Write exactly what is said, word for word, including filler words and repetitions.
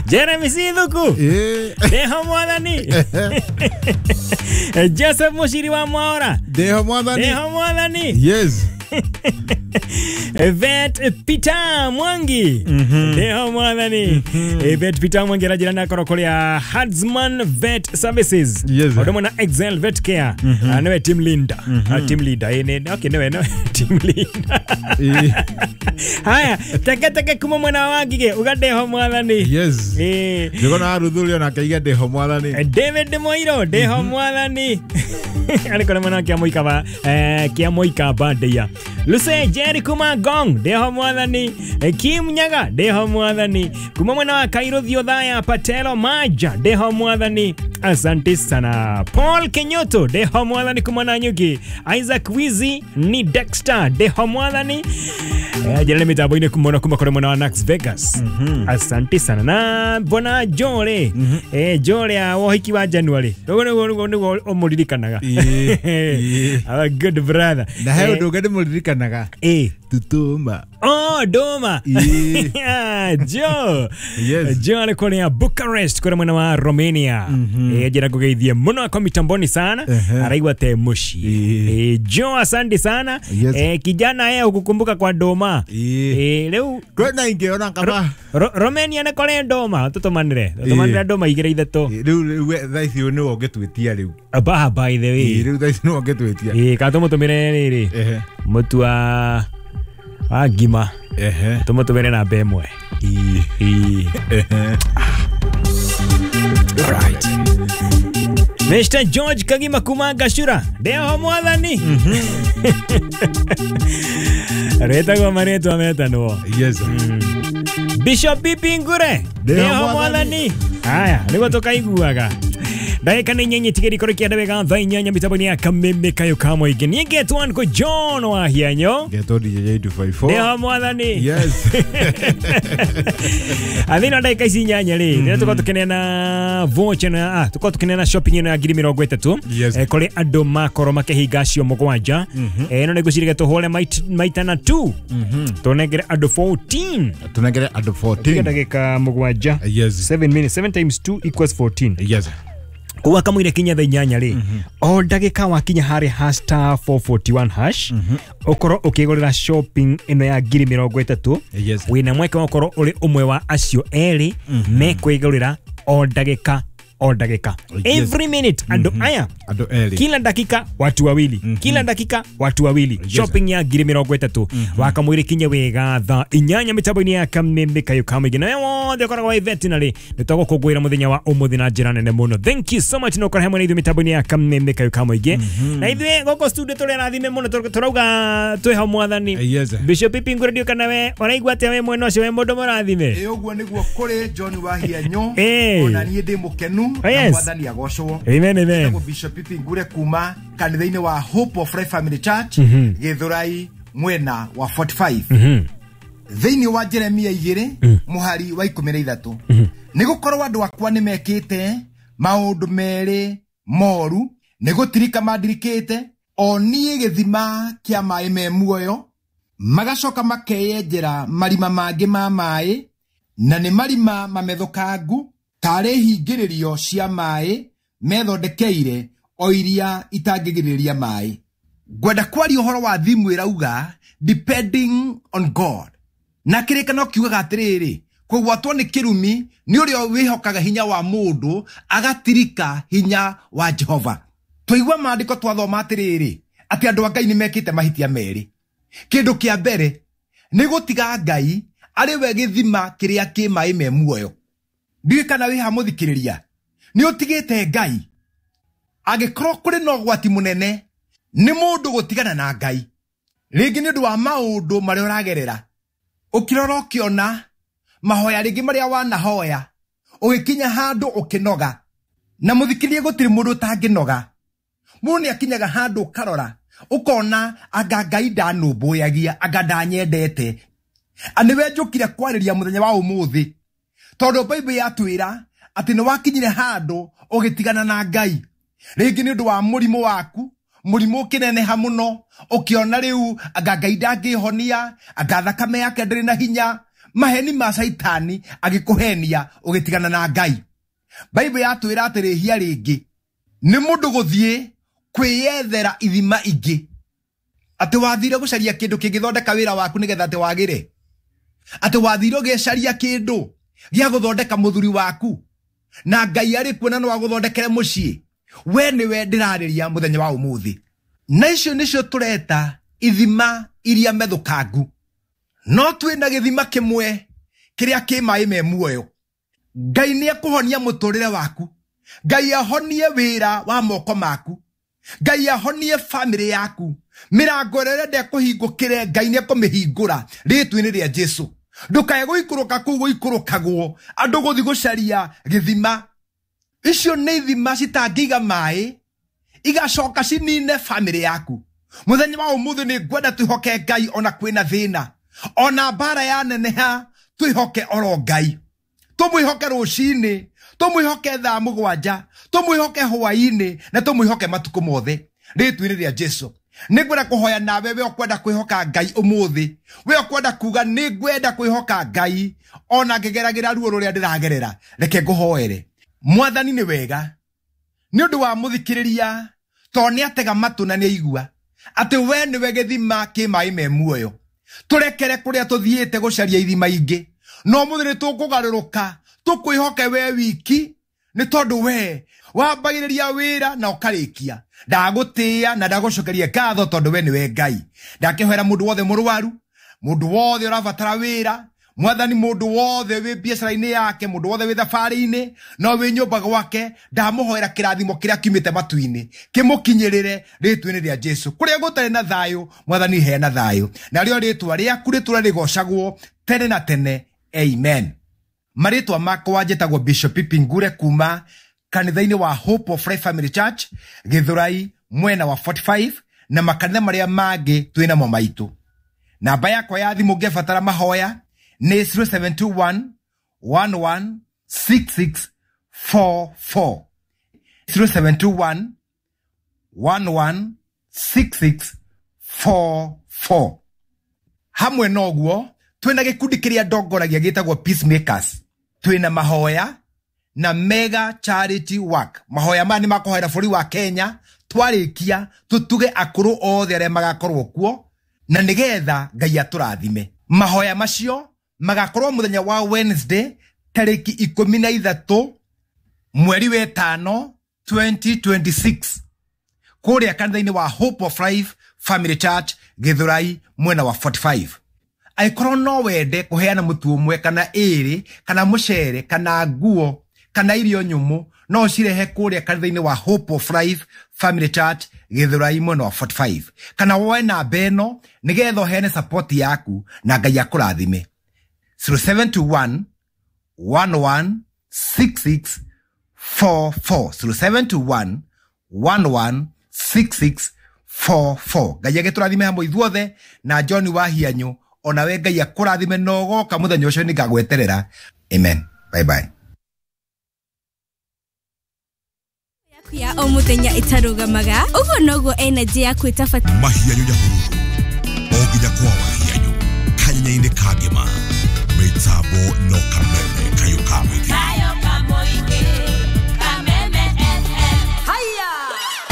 Jeremy Sithuku ndeho mwathani. Joseph Mushiri wa Mwaura ndeho mwathani. Ndeho mwathani. Yes. Vet Peter Mwangi ndeho mwathani. Vet Peter Mwangi arajira na korwo kuria Hadsman Vet Services. Yes. Odomo na Excel Vet Care. Niwe team leader. Team leader ene okay niwe no team leader. Haya teke teke kuma mwana wa Ngige uga ndeho mwathani. Yes. Eh ndikona aruthurio na kaiga ndeho mwathani. David Moiro ndeho mwathani. Ari kora mwana kia moika ba eh kia moika bandia. Luce Jerry kuma Gong ndeho mwathani. Kim Nyaga ndeho mwathani. Kuma mwana wa Kairo Thiothaya Patelo Maja ndeho mwathani. Asante sana. Paul Kenyoto ndeho mwathani kuma Nanyuki. Isaac Wizi ni Dexter ndeho mwathani. Eh jana mitambo-inĩ kumona kuma kore mwana wa Nax Vegas. Asante sana. Na bona Jore. Eh Jore a wohiki wa January. Niguo niguo niguo niguo umuririkanaga. Our good brother. Na he undu ungi ndimuririkanaga. Eh Tutuma. Oh, Doma. Joe. Yes. Joe alikuwa Bucharest kwa mwana wa Romania. Eh jira kugeithie muno kwa mitamboni sana. Araigwa te mushi. Eh Joe asante sana. Yes. Eh kijana yeye ukukumbuka kwa Doma. Eh leo kwena ingeona kama Romania na kore Doma tutumanire. Tutumanire Doma igire ithatũ. Riu riu thaa ici ni ũngĩtwĩtia riu. Ba by the way. Riu thaa ici ni ũngĩtwĩtia. Eh ka tumutumire riri. Mutu wa wa ngima. Ehe. Tumutumire namba ĩmwe. Ehe. Right. Mister George Kagima kuma Gashura ndeho mwathani. Retagwo marĩtwa metanwo. Yes. Bishop Pipi Ngure ndeho mwathani. Haya nĩguo tũkaiguaga. Ndagĩka nĩ inyanya tigĩrĩ kũrĩ kĩanda wega thaa inyanya mĩtambo-inĩ ya Kameme Kayo ka Mũingĩ. Niĩ ngetwo Uncle John wa Hianyo. Ngetwo D J two five four. Ndeho mwathani. Yes. Athĩna ndagĩka ici inyanya rĩ rĩrĩa tũkorwo tũkĩneana voucher na ah tũkorwo tũkĩneana shopping ĩno ya ngiri mĩrongo ĩtatũ kũrĩ andũ makorwo makĩhinga acio mũgwanja. Ĩno nĩ ngwĩciria tũhũre maita na two. Tũnengere andũ fourteen. Tũnengere andũ fourteen. Ndagĩka mũgwanja. Yes. seven minutes seven times two equals fourteen. Yes. Kuwa kamwire kinya thaa inyanya rĩ o ndagĩka wakinya harĩ hash star four forty-one hash ũkorwo ũkĩgũrĩra shopping ĩno ya ngiri mĩrongo ĩtatũ. Yes. Wĩna mweke wa ũkorwo ũrĩ ũmwe wa acio erĩ mekwĩgũrĩra o ndagĩka o ndagĩka. Every minute andũ aya andũ erĩ kila dakika watu wawili. Kila dakika watu wawili. Shopping ya ngiri mĩrongo ĩtatũ wakamwire kinye wega thaa inyanya mĩtambo-inĩ ya Kameme Kayo ka Mũingĩ. Na wothe ũkoragwo wĩ veterinary nĩ tũgũkũngũĩra mũthenya wa ũmũthĩ na njĩra nene mũno. Thank you so much no ũkorwo hamwe na ithuĩ mĩtambo-inĩ ya Kameme Kayo ka Mũingĩ. Na ithuĩ gũkũ studio tũrĩ arathime mũno tũrauga twĩho mwathani. Yes. Bishop Pipi Ngure ndiũ kana we ũraigua atĩa we mwena ũcio we mũndũ mũrathime? Ĩ ũguo nĩguo kũrĩ John wa Hianyo. Ona niĩ ndĩ mũkenu. Yes. Mwathani agocwo. Amen amen. Bishop Pipi Ngure kuma kanitha-inĩ wa Hope of Life Family Church Githurai mwena wa forty-five. Thĩinĩ wa Jeremia igĩrĩ mũhari wa ikũmi na ithatũ nĩ gũkorwo andũ akwa nĩ mekĩte maũndũ merĩ moru nĩ gũtirika mandirikĩte o niĩ gĩthima kĩa maĩ me muoyo magacoka makeyenjera marima mangĩ ma maĩ na nĩ marima mamethũkangu tarĩ hingĩrĩrio cia maĩ methondekeire o iria itangĩgirĩrĩria maĩ. Ngwenda kwaria ũhoro wa thimu ĩrauga depending on God. Na kĩrĩkano kiugaga atĩrĩrĩ kũgwatwo nĩ kĩrumi nĩ ũrĩa wĩhokaga hinya wa mũndũ agatirika hinya wa Jehova. Twaigua maandĩko twathoma atĩrĩrĩ atĩ andũ a Ngai nĩ mekĩte mahĩtia merĩ. Kĩndũ kĩa mbere nĩ gũtiga Ngai arĩ we gĩthima kĩrĩa kĩ maĩ me muoyo. Ndiũĩ kana wĩ ha mũthikĩrĩria nĩ ũtigĩte Ngai. Angĩkorwo kũrĩ na ũgwati mũnene nĩ mũndũ gũtigana na Ngai rĩngĩ nĩ ũndũ wa maũndũ marĩa ũragerera ũkĩrora ũkĩona mahoya rĩngĩ marĩa wanahoya ũgĩkinya handũ ũkĩnoga. Na mũthikĩrĩria gũtirĩ mũndũ ũtangĩnoga. Mũndũ nĩ akinyaga handũ ũkarora ũkona anga Ngai ndanũmbũyagia anga ndanyendete. Nĩwe njũkire kwarĩria mũthenya wa ũmũthĩ tondũ Bible yatwĩra atĩ nĩ wakinyire handũ ũgĩtigana na Ngai rĩngĩ nĩ ũndũ wa mũrimũ waku mũrimũ ũkĩneneha mũno ũkĩona rĩu anga Ngai ndangĩhonia anga thakame yake ndĩrĩ na hinya. Maheni ma Caitani agĩkũhenia ũgĩtigana na Ngai. Bible yatwĩra atĩ rĩhia rĩngĩ nĩ mũndũ gũthiĩ kwĩyethera ithima ingĩ. Atĩ wathire gũcaria kĩndũ kĩngĩthondeka wĩra waku nĩgetha atĩ wagĩre. Atĩ wathire ũgĩcaria kĩndũ gĩa gũthondeka mũthuri waku na Ngai arĩ kuo na no agũthondekere mũciĩ. We nĩwe ndĩrarĩria mũthenya wa ũmũthĩ. Na icio nĩcio tũreta ithima iria methũkangu. No twĩna gĩthima kĩmwe kĩrĩa kĩ maĩ me muoyo. Ngai nĩ ekũhonia mũtũrĩre waku. Ngai ahonie wĩra wa moko maku. Ngai ahonie family yaku. Mĩrango ĩrĩa ũrenda ĩkũhingũkĩre Ngai nĩ ekũmĩhingũra rĩĩtwa-inĩ rĩa Jesũ. Ndũkae gũikũrũka kũu gũikũrũkagwo andũ gũthiĩ gũcaria gĩthima. Icio nĩ ithima citangĩiga maĩ igacoka cinine family yaku. Mũthenya wa ũmũthĩ nĩ ngwenda twĩhoke Ngai ona kwĩna thĩna, ona mbara yaneneha twĩhoke oro Ngai. Tũmwĩhoke rũcinĩ, tũmwĩhoke thaa mũgwanja, tũmwĩhoke hwaĩ-inĩ na tũmwĩhoke matukũ mothe rĩĩtwa-inĩ rĩa Jesũ. Nĩ ngwenda kũhoya nawe we ũkwenda kwĩhoka Ngai ũmũthĩ, we ũkwenda kuga nĩ ngwenda kwĩhoka Ngai ona ngĩgeragĩra ruo rũrĩa ndĩragerera. Reke ngũhoere. Mwathani nĩ wega nĩ ũndũ wa mũthikĩrĩria, tondũ nĩ atega matũ na nĩ aigua atĩ we nĩwe gĩthima kĩ maĩ me muoyo. Tũrekere kũrĩa tũthiĩte gũcaria ithima ingĩ, no mũthĩ nĩ tũkũgarũrũka tũkwĩhoke we wiki, nĩ tondũ we wambagĩrĩria wĩra na ũkarĩkia. Ndagũtĩĩa na ndagũcokeria ngatho tondũ we nĩwe Ngai. Ndakĩhoera mũndũ wothe mũrwaru, mũndũ wothe ũrabatara wĩra, Mwathani, mũndũ wothe wĩ biacara-inĩ yake, mũndũ wothe wĩ thabarĩ-inĩ no wĩ nyũmba gwake, ndamũhoera kĩrathimo kĩrĩa kiumĩte matu-inĩ kĩmũkinyĩrĩre rĩĩtwa-inĩ rĩa Jesũ. Kũrĩa gũtarĩ na thayũ, Mwathani heana thayũ, narĩo rĩĩtwa rĩaku rĩtũre rĩgocagwo tene na tene. Amen. Marĩtwa makwa njĩtagwo Bishop Pipi Ngure kuma kanitha-inĩ wa Hope of Life Family Church Gĩthũrai mwena wa forty-five na makanitha marĩa mangĩ twĩnamo maitũ. Namba yakwa ya thimũ ũngĩbatara mahoya nĩ zero seven two one, one one six six four four. zero seven two one, one one six six four four. Hamwe noguo twĩna gĩkundi kĩrĩa ndongoragia gĩtagwo Peacemakers. Twĩna mahoya na mega charity work. Mahoya maya nĩ makũhoera bũrũri wa Kenya twarĩkia tũtuge akũrũ othe arĩa magakorwo kuo na nĩgetha Ngai atũrathime. Mahoya macio magakorwo mũthenya wa Wednesday tarĩki ikũmi na ithatũ mweri wa ĩtano twenty twenty-six kũrĩa kanitha-inĩ wa Hope of Life Family Church Gĩthũrai mwena wa forty-five. Angĩkorwo no wende kũheana mũtu ũmwe kana ĩrĩ kana mũcere kana nguo kana irio nyũmũ, no ũcirehe kũrĩa kanitha-inĩ wa Hope of Life Family Church Gĩthũrai mwena wa forty-five, kana woe namba ĩno nĩgetha ũheane support yaku na Ngai akũrathime. zero seven two one, one one six six four four. zero seven two one, one one six six four four. Ngai agĩtũrathime hamwe ithuothe na John Wahianyũ, onawe Ngai akũrathime na ũgoka mũthenya ũcio nĩngagweterera. Amen. Bye bye. Ya o mũthenya ĩtarũgamaga, ũguo noguo energy yaku ĩtabatiĩ. Mahianyũ Nyahururu o nginya kwa Wahianyũ kanyenya-inĩ ka ngĩma mĩtambo no kamwe.